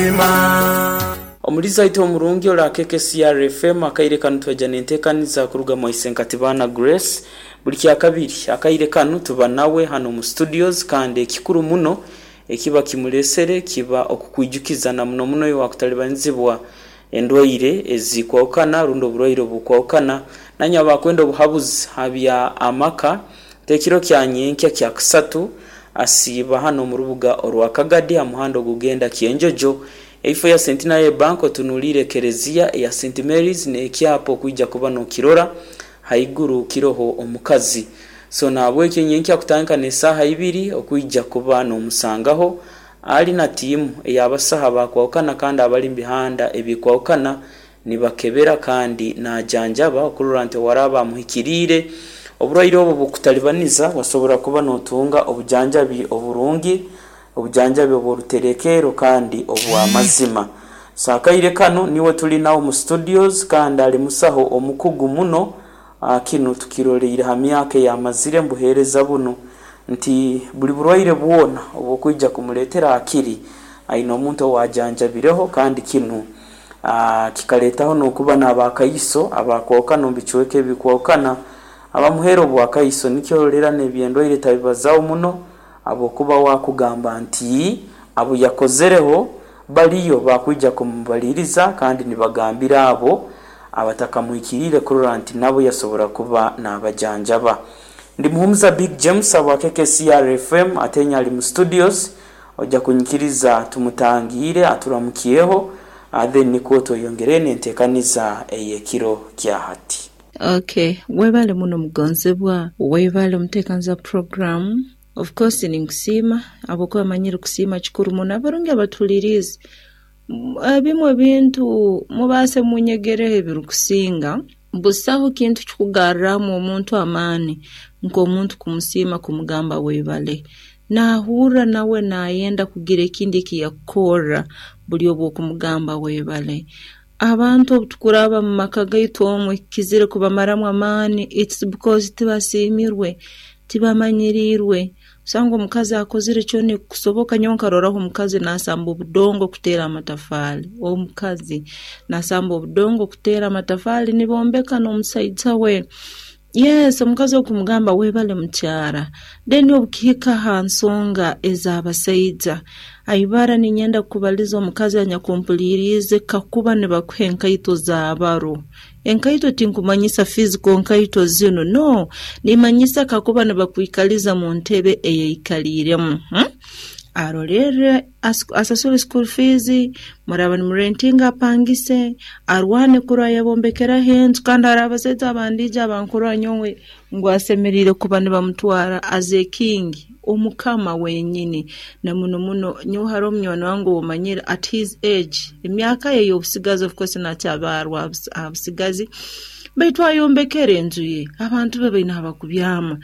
Amazima. Omulizi waitu omurungi ora KKCR FM akaire kanu twaija nentekaniza kuruga mwa Isenkatibana Grace. Buli kyakabiri akaire kanu tuba nawe hanu omu studios kandi ekikuru muno ekiba kimuresere kiba okukwijukiza na muno muno iwe wakutalibanizibwa endwaire ezikwahukana rundi oburwaire obukwahukana nanywe abakwenda obuhabuzi ha bya amaka. Ekiro kya nyenkya kyakusatu asiiba hanu omu rubuga orwa Kagadi ha muhanda ogugenda Kyenjojo. Eifo ya Centenary Bank otunuliire ekereziya eya St Mary's n'ekyapa okwija kuba nokirora haiguru kiroho omukazi. So nahabwekyo nyenkya kutandika n'esaaha ibiri okwija kuba nomusangaho ali na tiimu ey'abasaho abakwahukana kandi abali mu bihanda ebikwahukana nibakebera kandi najanjaba okurora nti owaraaba amuhikiriire oburwaire obu obukutalibaniza wasobora kuba notunga obujanjabi oburungi, obujanjabi obw'oruterekerro kandi obw'amazima. So akaire kanu niwe tuli nawe omu studios kandi ali musaho omukugu muno, kinu tukiroleire ha myaka eyamazire omu buheereza bunu nti buli burwaire bwona obwokwija kumuleetera hakiri aine omuntu owajanjabireho kandi kinu Kikaleetaho n'okuba n'abakaiso abakwahukana omu bicweka ebikwahukana abamuheera obwakaiso. Nikyo ororera n'eby'endwaire tabibazaho muno habwokuba we akugamba nti abu yakozereho baliyo bakwija kumubaliiriza kandi nibagambira abo abatakamuhikiriire kurora nti nabo yasobora kuba nabajanjaba. Ndi Muhumuza Big James habwa KKCR FM ate ali mu studios. Oja kunyikiriza tumutangiire aturamukyeho then nikwo tweyongereyo n'entekaniza ey'ekiro kya hati. Ok, webale muno mugonzebwa, webale omuteekaniza program. Of course ninkusiima habwokuba manyire kusiima kikuru muno. Abarungi abatuhuliriize, ebimu ebintu mubaase munyegereho ebirikusinga, busaho kintu kikugarramu omuntu amaani nk'omuntu kumusiima kumugamba webale. Naahurra nawe naayenda kugira ekindi eki yakukorra buli obu okumugamba webale. Abantu obu tukuraba mu maka gaitu omu ekikizire kubamaramu amaani it's because tibasiimirwe, tibamanyiriirwe. Osanga omukazi akozire kyona ekikusoboka, nyowe nkaroraho omukazi naasamba obudongo kuteera amatafaali, omukazi naasamba obudongo kuteera amatafaali nibombeka n'omusaija we. Yes, omukazi okumugamba webale mukyara, then obukihika ha nsonga ez'abasaija, aibara niinyenda kukubaliza omukazi anyakumpuliiriize kakuba nibakuha enkaito za baro. Enkaito tinkumanyisa physical nkaito zinu, no, nimanyisa kakuba nibakwikaliza mu ntebe eyaikaliiremu. Hmm? Arolerre asasule school fees, muraaba nimurentinga apangise, arwane kurora yabombekeraho enju kandi hariho abasaija abandiijo abankurora nyowe ngu asemeriire kuba nibamutwara as a king, omukama wenyini. Na muno muno nyowe haroho munywani wange ou manyire at his age, emyaka ye ey'obusigazi of course nakyabarwa aha busigazi, baitu ayombekere enju ye, abantu be baine ahabakubyama.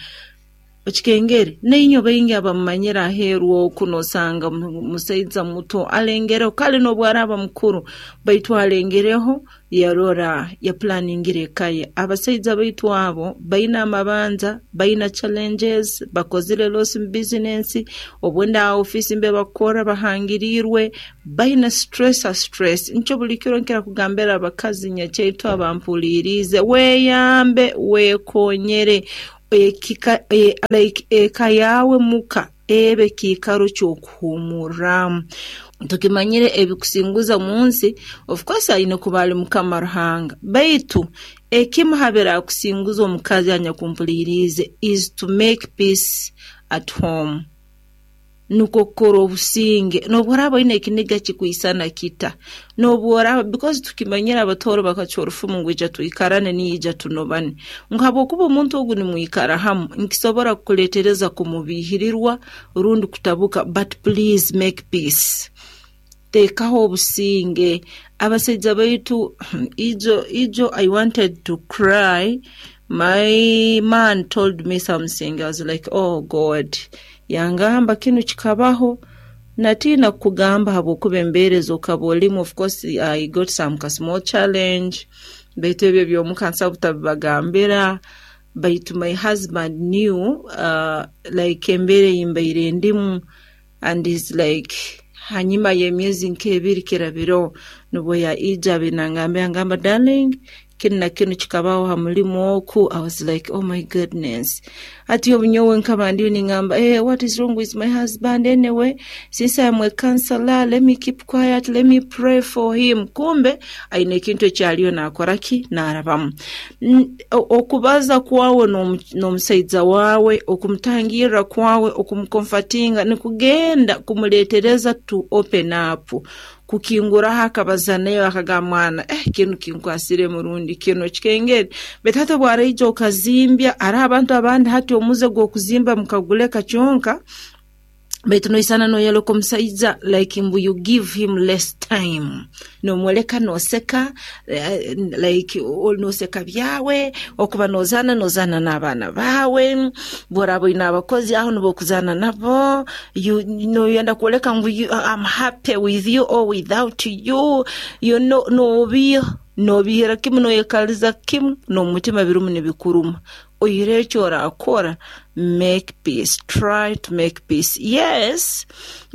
Okikengere, nainywe baingi abamumanyire aheeru oku nosanga musaija muto alengereho, kale n'obu araaba mukuru, baitu alengereho yarora yapulaningire eka ye. Abasaija baitu abo baine amabanja, baine challenges, bakozire loss mu bizinensi, obundi aha ofiisi mbere bakukorra bahangiriirwe, baine stress ha stress. Nikyo buli kiro nkira kugambira abakazi nyakyaitu abampuliiriize, weyambe, wekonyere, Ekika, like eka yaawe muka ebe kiikaro ky'okuhuumurramu. Tukimanyire ebikusinguza omu nsi, of course aine kuba ali Mukama Ruhanga, baitu ekimu ha birakusinguza omukazi anyakumpuliiriize is to make peace at home. Nukwo kukora obusinge n'obu oraaba oine ekiniga kikwisana kita, n'obu oraaba because tukimanyire abatooro bakacwa orufumu ngu ija twikarane niyo ija tunobane, ngu habwokuba omuntu ogu nimwikara hamu nikisobora kukuleetereza kumubiihirirwa rundi kutabuka but please make peace. Teekaho obusinge. Abasaija baitu ijo ijo I wanted to cry my man told me something I was like oh God yangamba kinu kikabaho natiina kukugamba habwokuba embeera ezi okaba olimu of course I got some ka small challenge baitu ebyo ebyomuka nsobola butabibagambira baitu my husband knew like embeera ei mbaire ndimu. And he's like, Hanyuma y'emyezi nk'ebiri kirabireho, nubwo yaija nangambira, yangamba, "Darling, kinu na kinu kikabaho ha mulimu oku." I was like, "Oh my goodness." Ati obu nyowe nkaba ndiyo ningamba, "Hey, what is wrong with my husband? Anyway, since I'm a counselor, let me keep quiet, let me pray for him." Kumbe aine ekintu ekyaliyo nakora ki, narabamu. Okubaza kwawe n'omusaija wawe, okumutangirra kwawe, okumucomfortinga, nikugenda kumuletereza to open up, kukinguraho, akabaza nayo, akagamba, "Mwana, kinu kinkwasire murundi kino kikengere." Baitu hati obwaraija okazimbya, hariho abantu abandi hati omuze gw'okuzimba mukaguleka kyonka, baitu noisana noyoleka omusaija like mbu you give him less time, nomwoleka noseka, like noseka byawe, okuba nozana, nozana n'abaana bawe, bworaba oine abakozi aho nibo okuzana nabo, noyenda kwoleka ngu "I'm happy with you or without you." Nobiha, nobihira kimu, noyekaliza kimu, n'omutima birimu nibikuruma. Oihireho eki orakora, make peace, try to make peace. Yes,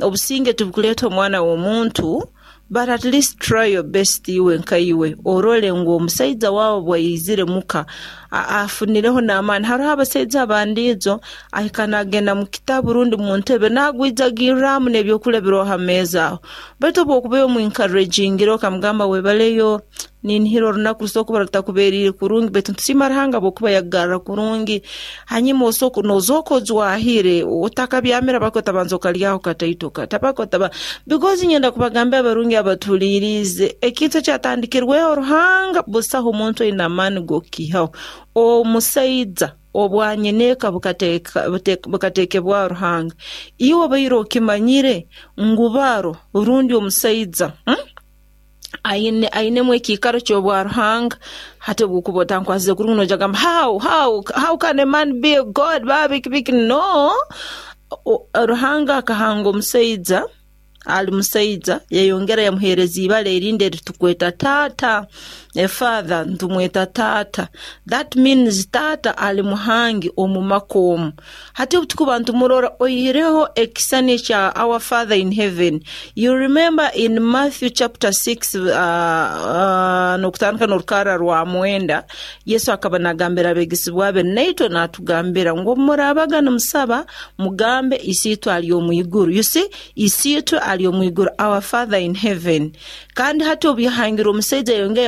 obusinge tibukuleeta omwana w'omuntu, but at least try your best iwe nka iwe, orole ngu omusaija wawe bwaizire muka afunireho n'amaani. Hariho abasaija abandiijo ahika nagenda mu kitabu rundi mu ntebe, nagwijagirramu n'ebyokulya biriho ha meeza aho. Baitu obu okuba omuencouragingire, okamugamba, "Webaleyo, ninihira orunaku rusobola kuba rutakubeeriire kurungi, baitu ntusiima Ruhanga bwokuba yakugarra kurungi." Hanyuma osooka nozooka ojwahire, otakabyamira baka otabanza okalyaho kataito katabaka otaba, because nyenda kubagambira abarungi abatuliirize, ekintu ekyatandikirweho Ruhanga, busaho omuntu oine amaani g'okukiihaho. Omusaija obwanyineeka bukateekebwaho Ruhanga. Iwe obaire okimanyire ngu baro rundi omusaija, Ainemu ekiikaro ky'obwa Ruhanga. Hati obwokuba otankwasize kurungi, noija kugamba, How can a man be a god?" Biki biki. No, Ruhanga akahanga omusaija ali musaija, yayongera yamuheereza ibara erindi eritukweta taata, a father, ntumweta taata. That means taata ali muhangi omu maka omu. Hati obu tukuba ntumurora, oihireho ekisani ekya our Father in heaven. You remember in Matthew chapter 6, n'okutandika n'orukarra rwa 9, Yesu akaba nagambira abegesibwa be, naitwe natugambira ngu murabaga nimusaba, mugambe, "Isiitwe ali omu iguru." You see, Isiitwe ali omu iguru, our Father in heaven. Kandi hati obu yahangire omusaija, yongera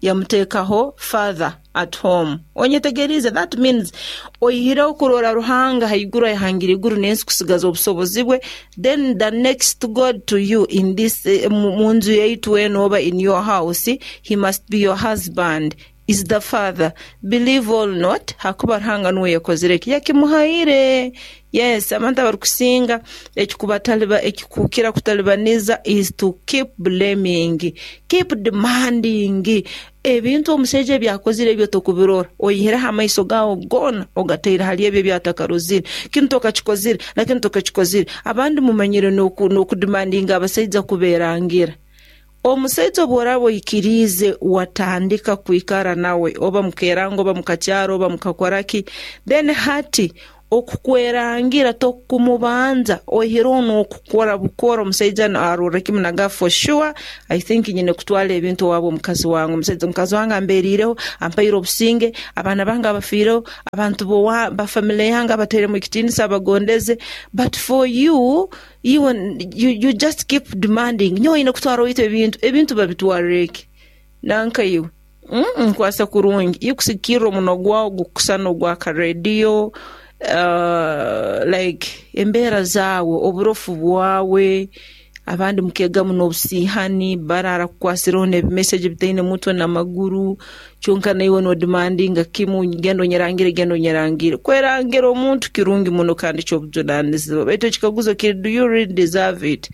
yamuteekaho father at home. Onyetegerize? That means oihireho kurora Ruhanga haiguru ayahangire iguru n'ensi kusigaza obusobozi bwe, then the next god to you in this, mu nju yaitu eno oba in your house, he must be your husband, is the father, believe or not, hakuba Ruhanga nuwe yakozire eki, yakimuhaire. Yes, abantu abarukusinga ekikubataliba, ekikukira kutalibaniza is to keep blaming, keep demanding ebintu omusaija ebyakozire ebyo tokubirora, oyihireho amaiso gawe goona ogataire hali ebyo ebyatakarozire. Kinu tokakikozire, na kinu tokakikozire. Abandi mumanyire n'okudemandinga abasaija kuberangira. Omusaija obu oraaba oikiriize watandika kwikara nawe, oba mukeranga, oba mukakyara, oba mukakora ki, then hati okukwerangira tokumubanza, oihireho n'okukora bukora, omusaija arorra kimu naga, "For sure, I think nyine kutwara ebintu owaabo omukazi wange. Omusaija, omukazi wange amberiireho, ampaire obusinge, abaana bange abafiireho, abantu ba family yange abatairemu ekitiinisa, abagondeze." But for you, you just keep demanding, "Nyowe oine kutwara owaitu ebintu." Ebintu babitwarire ki nanka iwe? Nkwasa kurungi iwe kusigikirra omunwa gwawe gukusana ogw'akarediyo, like embeera zaawe, oburofu bwawe. Abandi mukegamu n'obusiihani, barara kukwasireho n'ebimeseji bitaine mutwe n'amaguru, kyonka naiwe nodemandinga kimu, "Genda onyerangire, genda onyerangire." Kwerangira omuntu kirungi muno kandi ky'obujunanizibwa, baitu ekikaguzo kiri, do you really deserve it?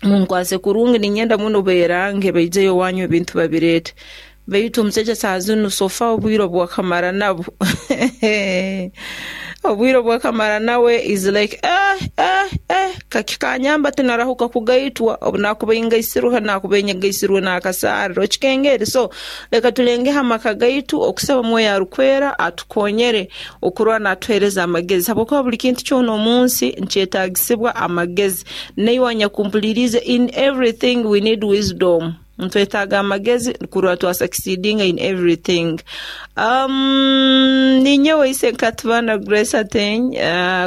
Munkwase kurungi, ninyenda muno berange, baijeyo owanyu ebintu babireete, baitu omusaija saa zinu so far obwire obwakamara nabo. Obwire obwakamara nawe is like eh eh eh kakikanyamba tinarahuka kugaitwa, obu nakuba ingaisirwe nakuba inyegaisirwe n'akasaariro okikengeri. So leka tulengeho amaka gaitu okusaba Mwoyo Arukwera atukonyere okurora natuheereza amagezi, habwokuba buli kintu kyona omu nsi nkyetaagisibwa amagezi. Naiwe anyakumpuliriize, in everything we need wisdom. Nitwetaaga amagezi kurora twasucceedinga in everything. Ninyowe Isenkatibana Grace Ateny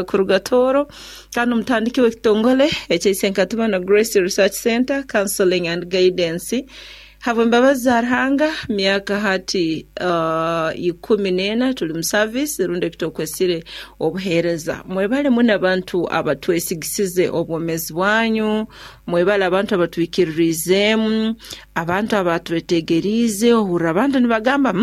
kuruga Tooro, kandi omutandiki w'ekitongole ekya Isenkatibana Grace Research Center Counseling and Guidance. Habw'embabazi za Ruhanga, myaka hati 14 tuli mu service rundi ekitwokwesire obuheereza. Mwebale muno abantu abatwesigisize obwomeezi bwanyu, mwebale abantu abatwikiririizeemu, abantu abatwetegeriize. Ohurra abantu nibagamba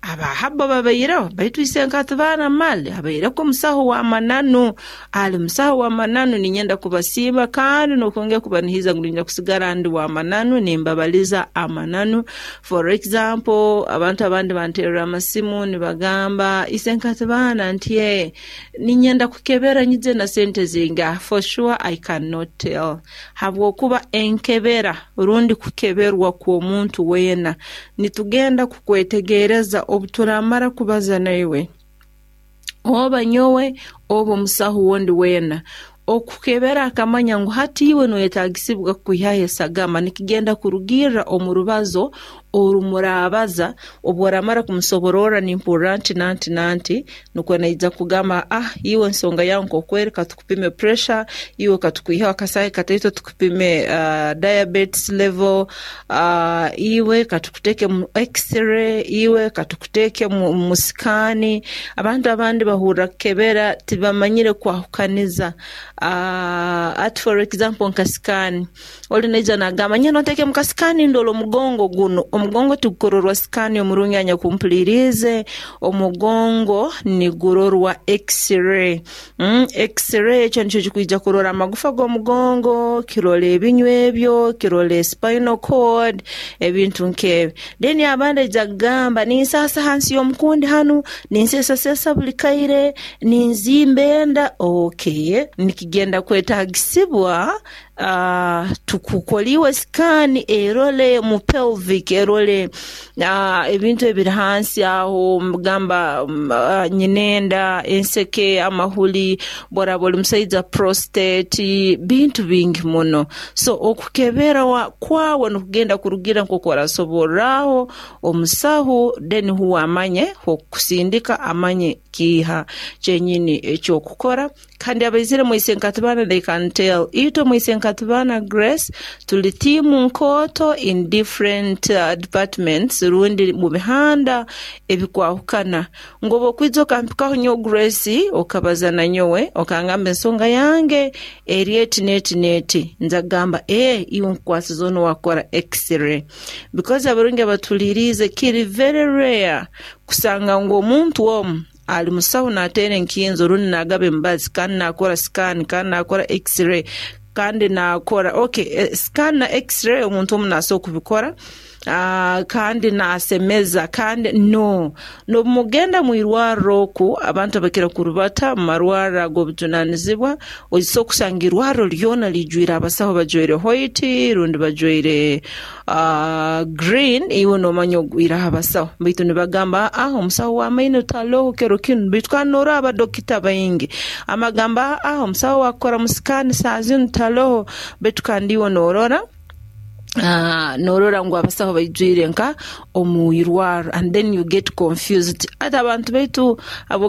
abahabo babaireho, baitu Isenkatibana mali abaireko omusaho w'amananu, ali musaho w'amananu. Ninyenda kubasiima kandi n'okwongera kubanihiza ngu ninyenda kusigara ndi w'amananu, nimbabaliza amananu. For example, abantu abandi banterera amasimu nibagamba, Isenkatibana nti ninyenda kukebera nyije na sente zingaha. For sure I cannot tell, habwokuba enkebera rundi kukeberwa kw'omuntu weena nitugenda kukwetegereza obu turamara kubaza naiwe, oba nyowe oba omusaho wondi weena. Okukebera akamanya ngu hati iwe noyetaagisibwa kukwihaho esagama nikigenda kurugirra omu rubazo orumurabaza. Obu oramara kumusobororra nimpurra nti nanti nanti, nukwo naija kugamba, ah, iwe ensonga yawe nk'okweri, katukupime pressure, iwe katukwihaho akasaahi kataito tukupime diabetes level, iwe katukuteke mu x-ray, iwe katukuteke mu scan. Abantu abandi bahurra kukebera tibamanyire kwahukaniza. Ati for example nka scan, oli naija nagamba nyenda onteke mu kascan ndole omugongo guno. Omugongo tigukororwa scan, omurungi anyakumpuliriize, omugongo nigurorwa x-ray. X-ray ekyo nikyo kikwija kurora amagufa g'omugongo, kirole ebinywa ebyo, kirole spinal cord, ebintu nk'ebi. Then abandi aija kugamba ninsaasa hansi y'omukundi hanu, ninsesasesa buli kaire, ninzimba enda. Okay, nikigenda kwetaagisibwa tukukoliwe scan erole mu pelvic, erole ebintu ebiri hansi aho, gamba nyinenda, enseke, amahuli, bworaba oli musaija prostate, bintu bingi muno. So okukebera kwawe nikugenda kurugira nk'oku orasoborraho omusaho, then huwe amanye h'okukusindika, amanye kiiha kyenyini eky'okukora. Kandi abaizire mu Isenkatibana, they can tell, itwe mu Isenkatibana Grace tuli tiimu nkooto in different departments rundi mu bihanda ebikwahukana. Ngu obu okwija okampikaho nyowe Grace, okabaza na nyowe, okangamba ensonga yange eri eti n'eti n'eti, nja kugamba iwe nkukwasize onu wakora x-ray. Because abarungi abatuliriize, kiri very rare kusanga ngu omuntu omu ali musaho nateera enkinzo rundi nagaba emibazi kandi nakora scan kandi nakora x-ray kandi nakora, okay, scan na x-ray omuntu omu nasobola kubikora, kandi nasemeza kandi no nobumugenda mu irwarro oku abantu abakira kurubata mu marwarro ag'obujunanizibwa, oisobola okusanga irwarro lyona lijwire abasaho bajwaire white rundi bajwaire green, iwe nomanya ogwireho abasaho, baitu nibagamba omusaho w'amaino taloho kiro kinu, baitu kandi norora abadokita baingi. Amagamba omusaho wakukora mu scan saa zinu taloho, baitu kandi iwe norora ngu abasaho baijwire nka omu irwarro, and then you get confused. Ati abantu baitu abo